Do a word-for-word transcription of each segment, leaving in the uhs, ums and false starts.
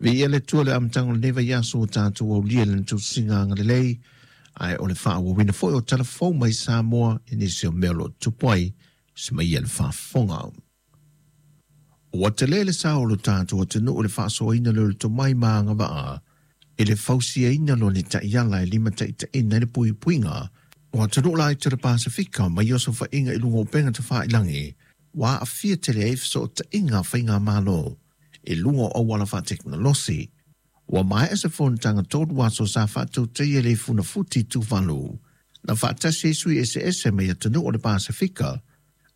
Viia le Atua i le amataga o lenei vaiaso ua tatou aulia i lana tusiga agalelei, ae o le faaauauina foi o tala fou mai Samoa i nisi o mea o lo o tupu ai se mai ia le faafofoga. Ua tele le sao o lo tatou atunuu i le faasoaina lea o le tomai ma agavaa i le fausiaina loa ni taiala e limataitaiina ai le puipuiga o atunuu laiti o le Pasefika mai osofaiga i luga o upega tafailagi ua aafia tele ai fesootaiga a faigamalo i luga o auala faatekonolosi. Ua maea se fonotaga tolu aso sa faatautaia i le Funafuti i Tuvalu na faatasi ai sui eseese mai atunuu o le Pasefika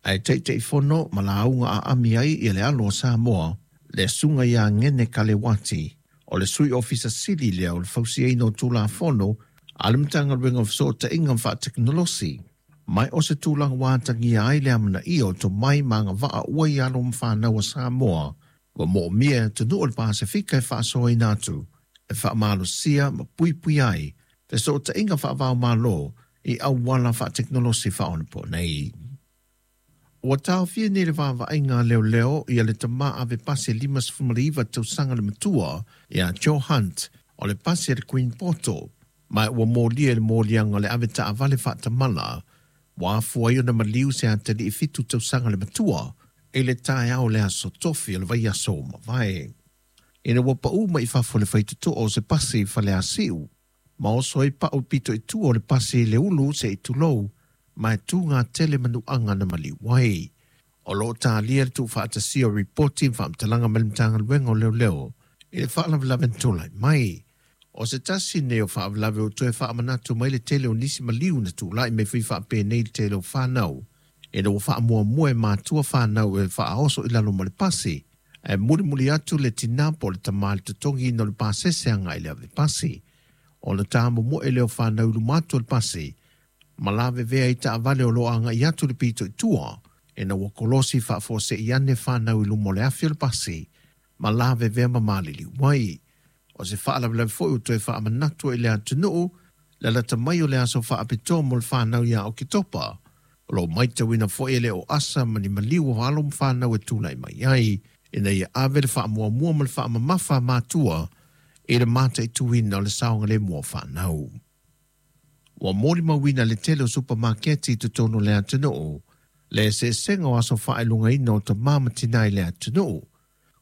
ae Taitaifono ma lauga aami ai ia le alo o Samoa, le susuga ia Ngene Kalewati, o le sui ofisa sili lea o le fausiaina o Tulafono a le Matagaluega o Fesootaiga ma Faatekonolosi. Mai o se tulaga ua atagia ai le amanaia o tomai ma agavaa ua i alo ma fanau a Samoa ua moomia e atunuu o le Pasefika e faasoaina atu, e faamalosia ma puipuia ai fesootaiga faava-o-Malo i auala faatekonolosi faaonaponei. Ua taofia nei le vaavaaiga a leoleo ia le tama ave pasi lima sefulu iva tausaga le matua ia Joe Hunt o le pasi a le Queen Poto, ma ua molia i le moliaga o le ave taavale faatamala ua afua ai ona maliu se atalii fitu tausaga le matua i le taeao o le aso Tofi o le vaiaso ua mavae. Ina ua pau mai i fafo le faitotoa o se pasi i Faleasiu, ma oso ai pau pito i tua o le pasi i le ulu se i tulou, ma e tū tele manuaga na maliu ai. O lo o talia le tuufaatasia o ripoti ma faamatalaga mai le Matagaluega o Leoleo i le faalavelave na tulai mai. O se tasi nei o faalavelave o toe faamanatu mai le tele o nisi maliu na tulai mai foi faapenei le tele o fanau. Ina ua faamuamua e matua fanau e faaoso i lalo ma le pasi, ae mulimuli atu le tina po o le tama i le totogiina o le pasese agai i le ave pasi. Ona tamomoe lea o fanau i luma atu o le pasi, ma lavevea i taavale o lo o agai atu le pito i tua, ina ua kolosi faafuasei ane fanau i luma o le afi o le pasi, ma lavevea ma maliliu ai. O se faalavelave foi ua toe faamanatu i le atunuu le lata mai o le aso faapitoa mo le fanau ia Oketopa. O lo o matauina foi e le o asa ma ni maliu o alo ma fanau e tulai mai ai, ina ia ave le faamuamua ma le faamamafa a matua i le mataituina o le saogalemu o fanau. Ua molimauina le tele o supamaketi i totonu o le atunuu le eseesega o aso faailogaina o tamā ma tinā i le atunuu.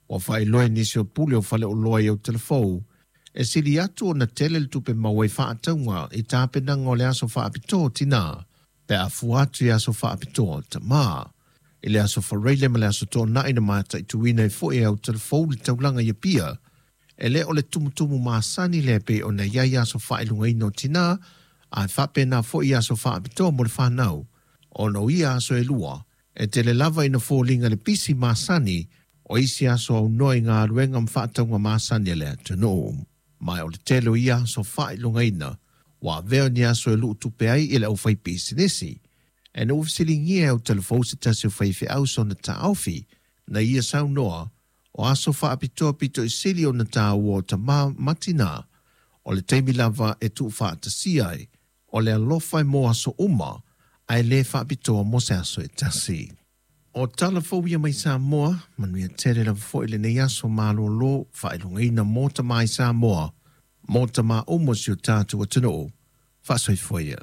Ua faailoa e nisi o pule o faleoloa i Aotelefou e sili atu ona tele le tupe maua i faatauga i tapenaga o le aso faapitoa o tinā pe a fua atu i aso faapitoa o tamā. I le aso Faraile ma le aso Toonai na mataituina ai foi e Aotelefou le taulaga i Apia, e le o le tumutumu masani lea pei ona i ai aso faailogaina o tinā, ae faapena foi i aso faapitoa mo le fanau, ona o ia aso e lua, e tele lava ina foliga le pisi masani o isi aso aunoa i galuega ma faatauga masani a le atunuu. Ma o le tele o ia aso faailogaina ua avea o ni aso e luutupe ai i le aufaipisinisi. E na ua fesiligia e Aotelefou se tasi o faifeau sona taofi na ia saunoa o aso faapitoa pito i sili ona taua o tamā ma tinā, o le taimi lava e tuufaatasia ai o le alofa e mo aso uma, ae le faapitoa mo se aso e tasi. O tala fou ia mai Samoa, manuia tele lava foi lenei aso malōlō faailogaina mo tamā i Samoa, mo tamā uma o si o tatou atunuu. Faasoifua ia.